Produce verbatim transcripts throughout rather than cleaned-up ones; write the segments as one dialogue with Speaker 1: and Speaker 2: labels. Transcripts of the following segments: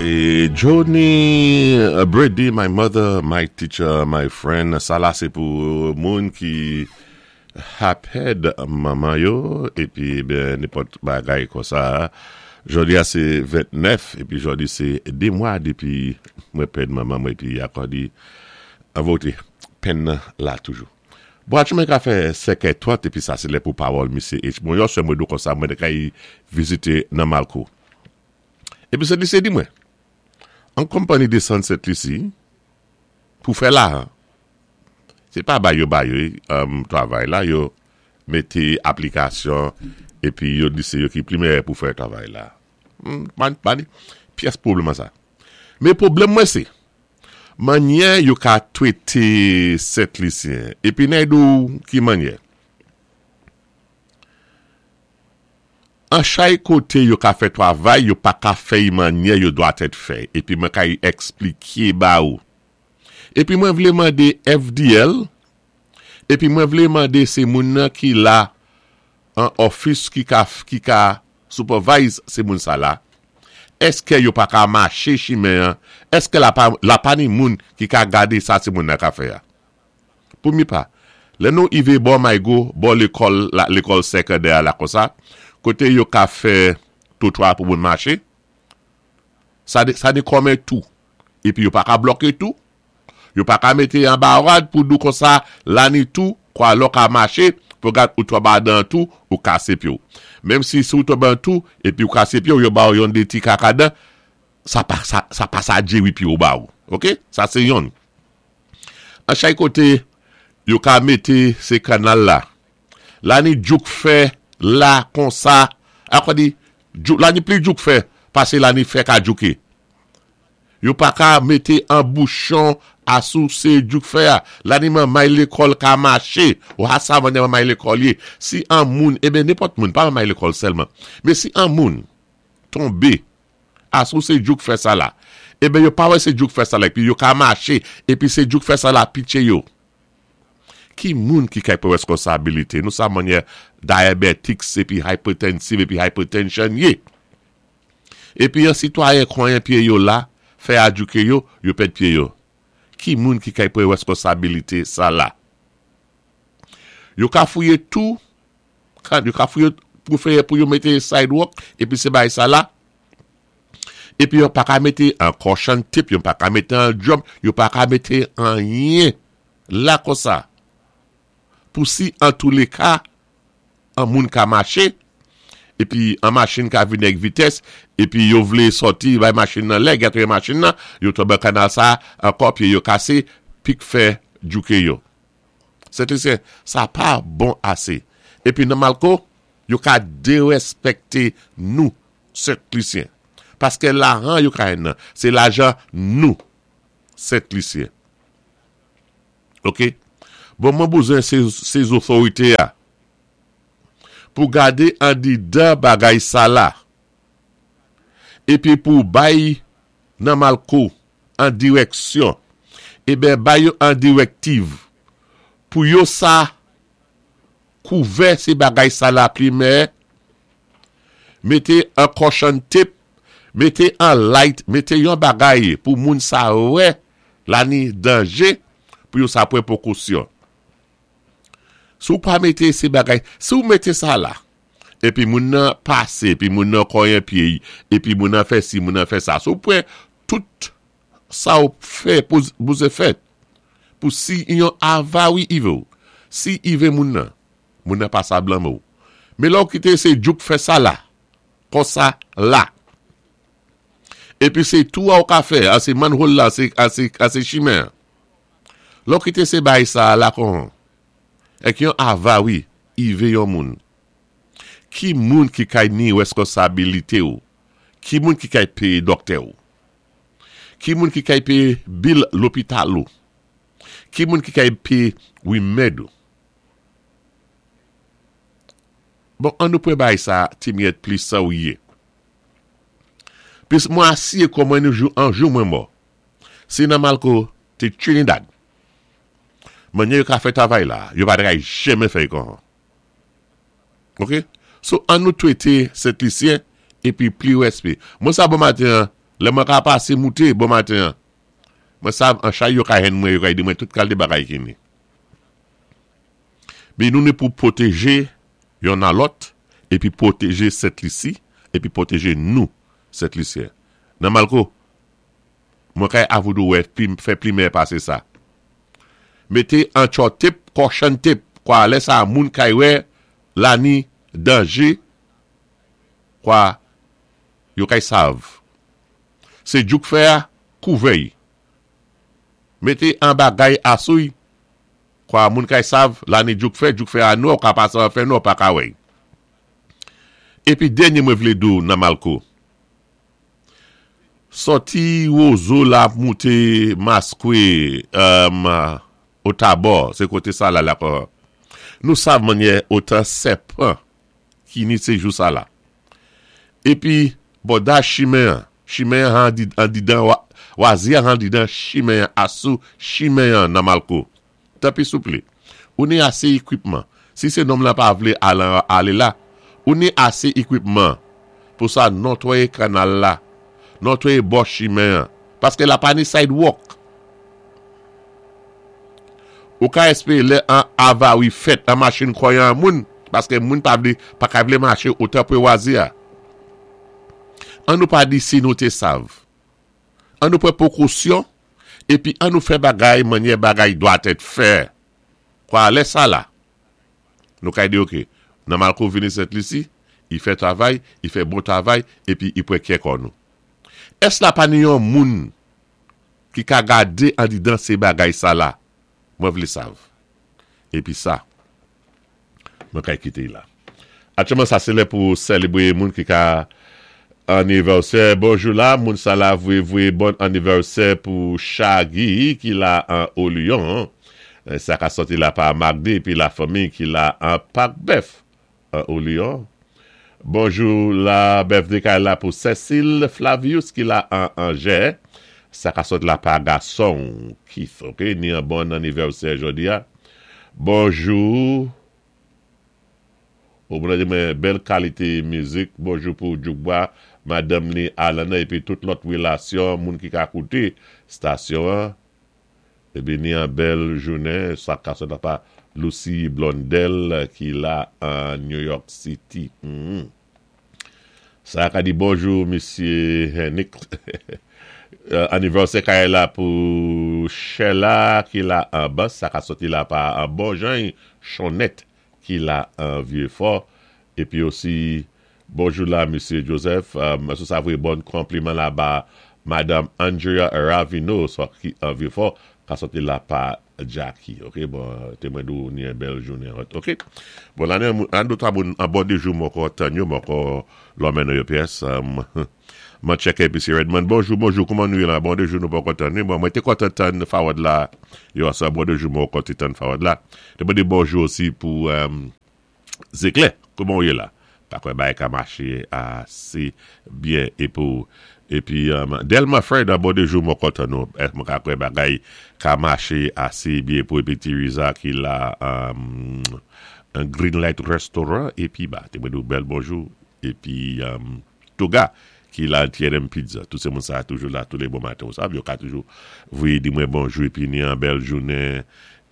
Speaker 1: É Johnny Brady, my mother, my teacher, my friend. Sa la sé pou moun ki ka pèd manman yo épi ben nenpòt bagay konsa. Jodi a sé ventnèf épi jodi sé dé mwa dépi mwen pèd manman mwen épi ankò di an vote penn nan la toujou. Bon, mwen ka fè senkè trant épi sa sé lè pou pawòl Misye H. Bon, yo sè mwen do konsa mwen te kay vizité nan Malco. Épi Sent Lisi di mwen, an konpayi desann Sent Lisi pou fè la, sé pa bay yo bay yo um, travay la, yo mété aplikasyon épi yo di sé yo ki pli meyè pou fè travay la. Hmm, pa, pa ni pyès pwoblèm an sa. Men pwoblèm mwen sé, mannyè yo ka twété Sent Lisyen, épi nèg di ou ki mannyè. An chay koté yo ka fè travay, yo pa ka fè mannyè yo dwa tèt fè. Épi mwen ka ekspliké ba ou. Épi mwen vlé mandé F D L, épi mwen vlé mandé sé moun nan ki la an office ki ka, ki ka supervise sé moun sa la. Èské yo pa ka maché chimen an? Èské la pa, la pa ni moun ki ka gadé sa sé moun nan ka fè a? Pou mi pa. Lè nou ivé bò Maygo, bò lékòl, la, lékòl sékondè la konsa, koté yo ka fè twotwa pou moun maché, sa dé, sa ni kòmen tou. Épi yo pa ka bloké tou. Yo pa ka mété an barad pou dou konsa, la ni tou, kwa lò ka maché, pou gad ou tonbé dan tou, ou kasé pyé ou. Menm si si ou tonbé an tou, épi ou kasé pyé ou, yo ba ou yon dé ti kakadan, sa pa, sa, sa pa sa djéwi pyé ou ba ou. Ok? Sa sé yon. An chay koté, yo ka mété sé kanal la. La ni djouk fè la konsa, akwa di, djouk, la ni pli djouk fè, pasé la ni fè ka djouké. Yo pa ka mété an bouchon asou sé djouk fè a. La ni manmay lékòl ka maché. Ou ha sa mannyè manmay lékòl yé. Si an moun, eben nenpòt moun, pa manmay lékòl sèlman. Men si an moun tonbé asou sé djouk fè sa la, eben yo pa wè sé djouk fè sa la, épi yo ka maché, épi sé djouk fè sa la pitché yo. Ki moun ki kay pran responsabilité? Nou sa mannyè diabetics épi hypertensive épi hypertension yé. Épi yon sitwayen konyen pyé yo la, fè a djouké yo, yo pèd pyé yo. Ki moun ki kay pran responsabilité sa la? Yo ka fouyé tou, yo ka fouyé pou fè pou yo mété sidewalk, épi sé bay sa la, épi yo pa ka mété an caution tape, yo pa ka mété an jump, yo pa ka mété anyen la konsa. Pou si an tou lé ka, an moun ka maché, épi an machin ka vini ak vitès, épi yo vlé sòti, bay machin nan lè, gatre machin nan, yo tonbé kanal sa, ankò pyé yo kasé, pik fè djouké yo. Sent Lisyen, sa pa bon asé. Épi nan Malco, yo ka déréspèkté nou, Sent Lisyen. Paské lajan yo ka nan, sé lajan nou, Sent Lisyen. Ok? Bon, mwen bezwen sé, sé otorité a pou gadé an didan bagay sa la. Épi pou bay nan Malco an direksyon. Eben bay yo an direktiv. Pou yo sa kouvè sé bagay sa la plimè, mété an caution tape, mété an light, mété yon bagay pou moun sa wè la ni danjé, pou yo sa pran pwékosyon. Si ou pa mété sé bagay, si ou mété sa la, épi moun nan pasé, épi moun nan konyen pyé, épi moun nan fè si, moun nan fè sa. Si ou pran tout sa ou fè pou, pou sé fèt, pou si yon avari ivé ou, si ivé moun nan, moun nan pa sa blanmé ou. Men lò kité sé djouk fè sa la, konsa la. Épi sé tou a ou ka fè, a sé manhole la, sé, a sé, a sé chimen. Lò kité sé bay sa la kon, ek yon avari ivé yon moun. Ki moun ki kay ni responsabilité ou? Ki moun ki kay péyé doktè ou? Ki moun ki kay péyé bill lopital ou? Ki moun ki kay péyé wimèd ou? Bon, an nou pran bay sa ti myèt plis sa ou yé. Plis mwen asié kon mwen nou jou, an jou mwen mò. Si nan Malco té Trinidad, mannyè yo ka fè travay la, yo pa dray jamè fè kon. Ok? So, an nou twété Sent Lisyen, épi pli wèspé. Mwen sa bon maten, Lè mwen ka pasé mouté bon maten. Mwen sav an chay yo ka henn mwen, yo ka di mwen tout kalité bagay ki ni. Ni nou ni pou pwotéjé youn a lòt épi pwotéjé Sent Lisi épi pwotéjé nou Sent Lisyen. Nan Malko, mwen kay avoudou wè fè pli meyè pasé sa. Mété an chalk tape, caution tape, kwa lè sa moun kay wè la ni danjé, kwa yo kay sav. Sé djouk fè a, kouvè'y. Mété an bagay asou'y, kwa moun kay sav, la ni djouk fè, djouk fè a nou, ka pasé an fè nou, pa ka wè'y. Épi dènyé mwen vlé di'w nan Malko. Sòti Wozo la mouté Maskwe um, o Tabò, sé koté sa la la kwa. Nou sav mannyè otan sèpan ki ni sé jou sa la. Épi, bòda chimen, chimen an didan, wazi an didan chimen asou chimen nan Malko. Tanpi souplé, ou ni asé ékwipman. Si sé nonm la pa vlé alé la, ou ni asé ékwipman pou sa notwayé kanal la, notwayé bò chimen, paské la pa ni sidewalk. Ou ka espéré lè an avari fèt, an machin konyen moun, paské moun pa vlé, pa ka vlé maché otan pou wazi a. An nou pa di si nou té sav. An nou pran pwékosyon, épi an nou fè bagay, mannyè bagay dwa èt fè. Kwa lè sa la, nou ka di ok, nan Malko vini Sent Lisi, i fè travay, i fè bon travay, épi i pran kè kon nou. Ès la pa ni yon moun ki ka gadé an didan sé bagay sa la? Mwen vlé sav. Épi sa, mwen kay kité la. Aktyèlman sa sé lè pou sélébwé moun ki ka anivèsè. Bonjou la, moun sa la vwé vwé bon anivèsè pou Shaggy ki la an Olion. Sa ka sòti la pa Magdi épi la fanmi ki la an Pak Bèf an Olion. Bonjou la birthday kay la pou Cécile Flavius ki la an Angers. Sa ka sòti la pa gason Keith, ok? Ni an bon anivèsè jodi a. Bonjou. Ou mwen di mwen bèl kalité mizik. Bonjou pou Djoukba, madame ni Alana épi tout lòt rélasyon moun ki ka kouté stasyon an. Épi ni an bèl jounen. Sa ka sòti la pa Lucy Blondel ki la an New York City. Mm-hmm. Sa ka di bonjou Mesye Henrik. Anivèsè kay la pou Sheila ki la an bas. Sa ka sòti la pa an bon jan Chonette ki la an Vieux-Fort. Épi osi bonjou la Mesye Joseph. Um, sou sa vwé bon konpliman la ba Madame Andrea Ravino so ki an Vieux-Fort. Ka sòti la pa Jackie. Ok, bon, té mwen di'w ni an bèl jounen. Ok, bon, la an do ta bon, an bon de jou mwen kon tan yo, mwen kon lòmen nou yo pyès. Um, mwen tchèké épi si Redmond. Bonjou, bonjou, kouman nou yé la? Bon de jou nou pa kontan. Bon, mwen té kontan tann Fawad la. Yo sa bon de jou mwen kontan tann Fawad la. Té mwen di bonjou osi pou um, Zéklè. Kouman ou yé la? Pa kwè bagay ka maché asé byen é pou épi um, Delma Fred, bon de jou mwen kontan nou. Mwen ka kwè bagay ka maché asé byen pou épi Tiriza ki la um, un Green Light Restaurant épi ba, té mwen di bèl bonjou épi um, Toga ki la T and M Pizza. Tout sé moun sa toujou la tous les bons matins. Ou sav, yo ka toujou voyé di mwen bonjou épi ni an bèl jounen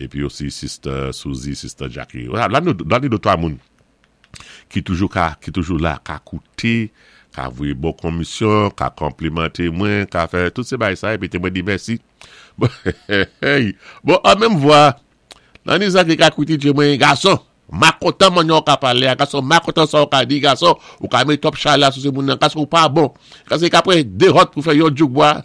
Speaker 1: épi osi Sister Suzy, Sister Jackie. La nou la ni de twa moun ki toujou ka, ki toujou la ka kouté, ka voyé bon komisyon, ka konplimanté mwen, ka fè tout sé bagay sa épi té mwen di mèsi. Bon, hey, bon, an menm vwa, nan ni sa ki ka kouté di mwen gason, ma kontan man yon ka palé, gason, ma kontan sa ou ka di, gason, ou ka mé top chala sou sé moun nan, gason ou pa bon. Gason ka pran dé hot pou fè yon djouk bwa.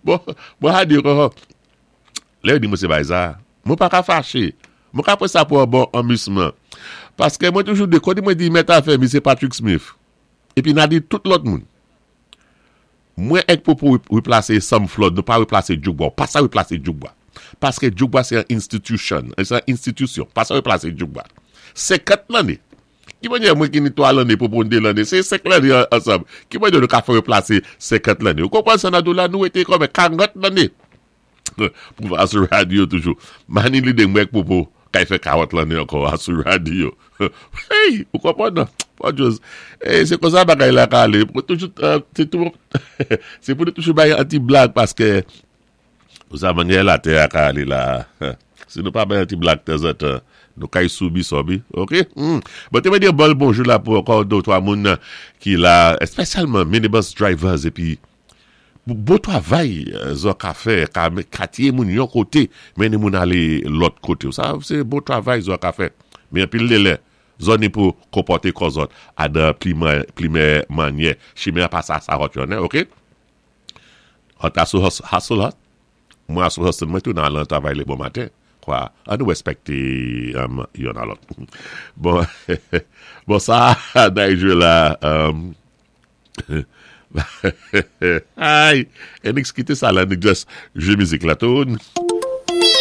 Speaker 1: Bon, bon, ha di, oh, lè di mwen sé bagay sa, mwen pa ka faché. Mwen ka pran sa pou un bon amusement. Paské mwen toujou de, kondi mwen di mèt afè, Misye Patrick Smith. Épi nan di tout lòt moun. Mwen ek pou pou replasé Sam Flood, nou pa replasé Djoukba, pa sa replasé Djoukba. Paské Djoukba sé an institution, sé an institution, pa sa replasé Djoukba. Senkant lanné. Ki manyè mwen ki ni twa lanné pou pou dé lanné, sé senk lanné ansanm. Ki manyè nou ka fè replasé senkant lanné. Ou konpwann sa nan dou la, nou été kòm karant lanné. Pou asou radyo toujou. Mani li de mwen pou pou kay fè karant lanné ankò asou radyo. Hey, ou konpwann nan? Bon, eh, sé konsa bagay la ka alé. Toujou, sé tou, sé pou nou toujou bay an ti blag paské ou sa mannyè latè a ka alé la. Si nou pa bay an ti blag tanzantan, nou kay soubi sobi, ok? Mm. Bon, té mwen di bon bonjou la pou ankò dé twa moun ki la, espesyalman minibus drivers épi bon twavay zòt ka fè, ka katye moun yon koté, mennen moun alé lòt koté. Sa, sé bon twavay zòt ka fè. Men anpil lè lè, zòt ni pou konpòté kò zòt adan pli meyè mannyè. Chimen pa sa sa hot yon, ok? Hot asou hustle hot. Mwen asou hustle mwen tou nan lan travay lé bon maten. Kwa, an nou wèspèkté um, yon a lòt. Bon, bon sa, nan jwe la, um, ay, Enix kité sa la, nou just jwé mizik la tou.